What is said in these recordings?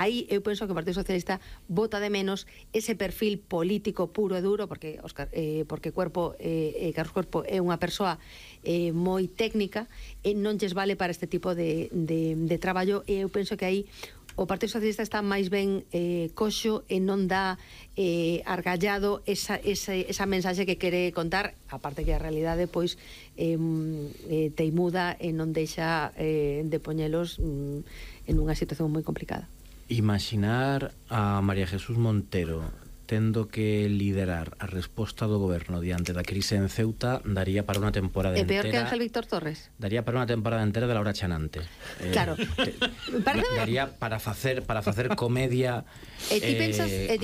aí eu penso que o Partido Socialista vota de menos ese perfil político puro e duro, porque Carlos Cuerpo é unha persoa moi técnica e non lles vale para este tipo de traballo, e eu penso que aí o Partido Socialista está máis ben coxo e non dá argallado esa mensaxe que quere contar, aparte que a realidade pois teimuda e non deixa de poñelos en unha situación moi complicada. Imaginar a María Jesús Montero tendo que liderar a resposta do goberno diante da crise en Ceuta daría para unha temporada entera. É peor que Ángel Víctor Torres? Daría para unha temporada entera de Laura Chanante. Claro. Daría para facer comedia. E ti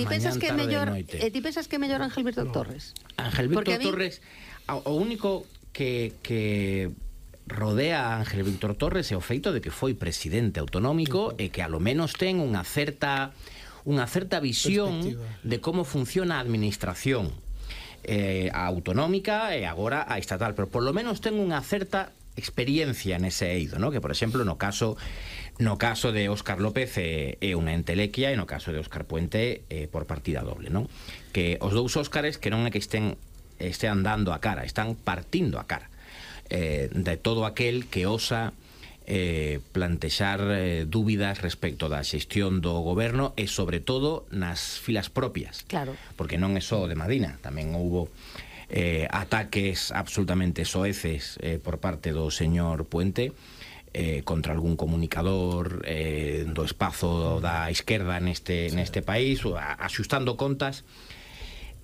pensas que é mellor Ángel Víctor Torres? Ángel Víctor Torres, o único que rodea a Ángel Víctor Torres é o feito de que foi presidente autonómico e que a lo menos ten unha certa visión de como funciona a administración a autonómica e agora a estatal, pero por lo menos ten unha certa experiencia nese eido, ¿no? Que por exemplo no caso de Óscar López é unha entelequia, e no caso de Óscar Puente por partida doble, ¿no? Que os dous Óscares que non é que estean dando a cara, están partindo a cara de todo aquel que osa plantexar dúbidas respecto da xestión do goberno e sobre todo nas filas propias. Claro. Porque non é só de Madina, tamén houbo ataques absolutamente soeces por parte do señor Puente contra algún comunicador do espazo da esquerda neste país, axustando contas.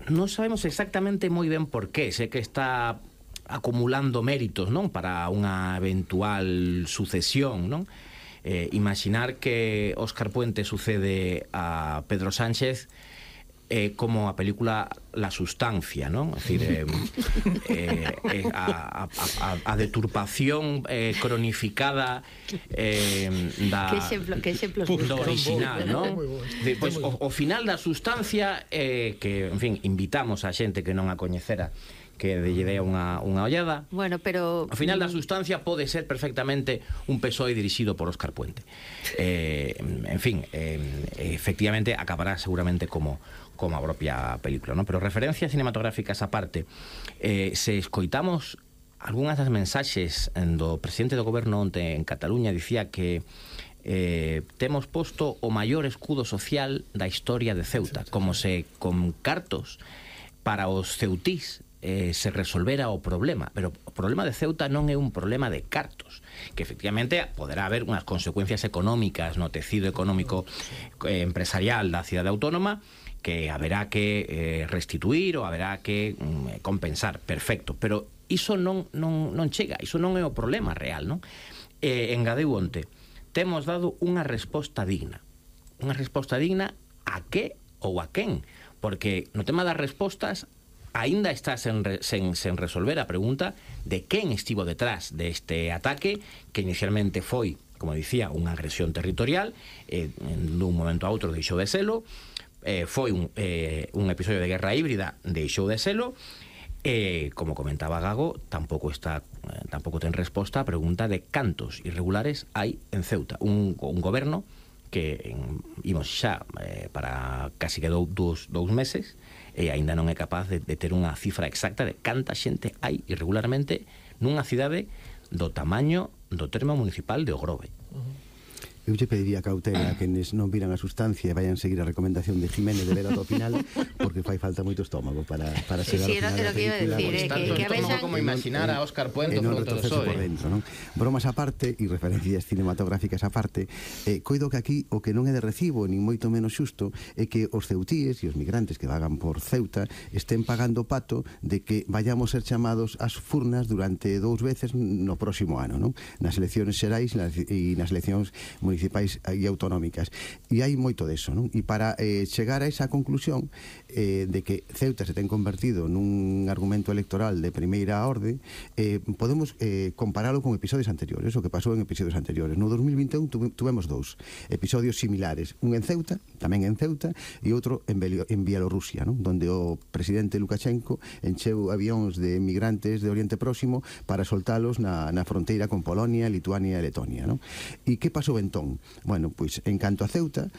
Non sabemos exactamente moi ben por qué, sei que está acumulando méritos, non, para unha eventual sucesión, non? Imaginar que Óscar Puente sucede a Pedro Sánchez como a película La Sustancia, non? É dicir, a deturpación cronificada que exemplos do original, non? Pois o final da Sustancia que, en fin, invitamos a xente que non a coñecera que lle dé unha ollada. Bueno, pero ao final da Sustancia pode ser perfectamente un PSOE dirixido por Óscar Puente. En fin, efectivamente acabará seguramente como a propia película, ¿no? Pero referencias cinematográficas aparte, se escoitamos algunhas das mensaxes do presidente do goberno onte en Cataluña, dicía que temos posto o maior escudo social da historia de Ceuta, como se con cartos para os ceutís se resolvera o problema, pero o problema de Ceuta non é un problema de cartos, que efectivamente poderá haber unhas consecuencias económicas no tecido económico empresarial da cidade autónoma que haberá que restituir ou haberá que compensar, perfecto, pero iso non chega, iso non é o problema real, non? Engadeu onte, temos dado unha resposta digna a que ou a quen, porque no tema das respostas aínda está sen resolver a pregunta de quen estivo detrás deste ataque, que inicialmente foi, como dicía, unha agresión territorial, dun momento a outro deixou de selo, foi un episodio de guerra híbrida, deixou de selo, como comentaba Gago, tampouco ten resposta a pregunta de cantos irregulares hai en Ceuta, un goberno que imos xa para casi que dous meses e aínda non é capaz de ter unha cifra exacta de canta xente hai irregularmente nunha cidade do tamaño do termo municipal de Ogrove. Eu lle pediría cautela a quenes non viran a Sustancia e vayan seguir a recomendación de Jiménez de ver ata o final, porque fai falta moito estómago para chegar ao final da película. Tanto estómago como imaginar a Óscar Puente fronte do PSOE. Bromas aparte e referencias cinematográficas aparte, coido que aquí o que non é de recibo, nin moito menos xusto, é que os ceutíes e os migrantes que vagan por Ceuta estén pagando pato de que vayamos ser chamados ás furnas durante 2 veces no próximo ano, non? Nas eleccións xerais e nas eleccións municipais e autonómicas, e hai moito deso, non? E para chegar a esa conclusión de que Ceuta se ten convertido nun argumento electoral de primeira orde, podemos comparalo con episodios anteriores, o que pasou en episodios anteriores. No 2021 tuvemos 2 episodios similares, un en Ceuta, tamén en Ceuta, e outro en Bielorrusia, non? Donde o presidente Lukashenko encheu avións de migrantes de Oriente Próximo para soltalos na fronteira con Polonia, Lituania e Letonia, non? E que pasou entón? Bueno, pois en canto a Ceuta,